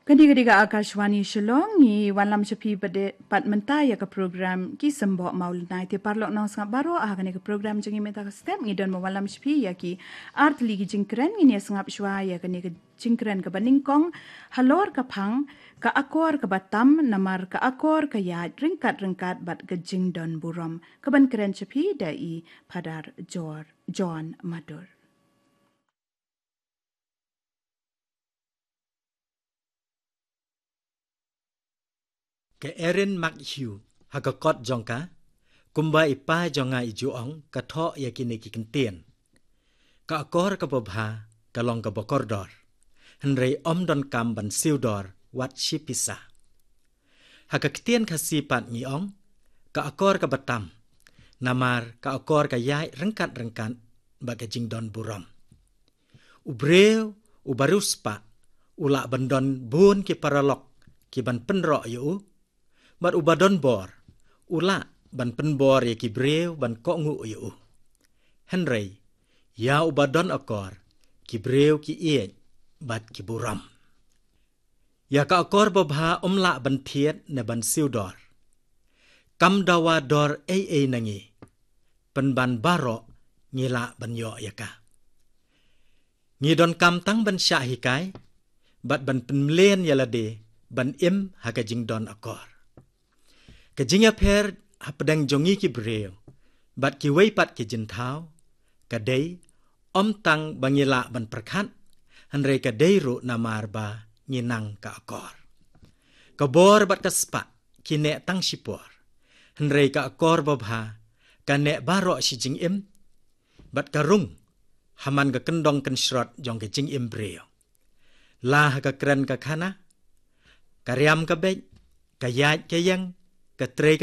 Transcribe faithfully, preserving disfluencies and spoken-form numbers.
Kane ka dei ka Akashvani Shillong, ngi wanlam sha phi pat mynta ïa ka program Ki Symboh Mawlynnai. Te paralok nongsngap baroh, ha kane ka program jong ngi mynta ka step ngi don ban wanlam sha phi ïa ki artylli ki jingkren. Ngin ïa sngap shuwa ïa kane ka jingkren kaba nyngkong, halor ka phang, Ka Akor Kaba Tam, namar ka akor ka ïaid ryngkat ryngkat bad ka jingdon burom. Kaban kren sha phi da i Phadar Jor John Madur. Ka Erin McHugh, ha ka kot jong ka, kumba i pa jong nga i ju ong, ka thoh ïa kine ki kyntien. Ka akor kaba bha, ka long kaba kordor. Hynrei ym donkam ban siew dor, wat shi pisa. Ha ka ktien Khasi pat ngi ong, ka akor kaba tam. Namar ka akor ka ïaid ryngkat ryngkat, bad ka jingdon burom. U briew, uba riewspah, u lah ban don bun ki paralok, ki ban pynroh ïa u, bad uba don bor, u lah ban pynbor ïa ki briew ban kohnguh ïa u. Hynrei, ïa uba don akor, ki briew ki ïeit, bad ki burom. Ïa ka akor babha ym lah ban thied ne ban siew dor. Kam dawa dor ei ei na ngi. Pynban baroh ngi lah ban ïoh ïa ka. Ngi donkam tang ban shah hikai, bad ban pynmlien ïa lade, ban im ha ka jingdon akor. Ka jingïapher hapdeng jong ngi ki briew, bad kiwei pat ki jingthaw, ka dei, ym tang ba ngi lah ban pyrkhat, hynrei ka dei ruh namar ba ngi nang ka akor. Ka bor bad ka spah, ki neh tang shipor. Hynrei ka akor babha, ka neh baroh shi jingim, bad ka rung, ha man ka kyndong kynshrot jong ka jingim briew. La ha ka kren ka khana, ka riam ka beit, ka ïaid ka ïeng, ka trei ka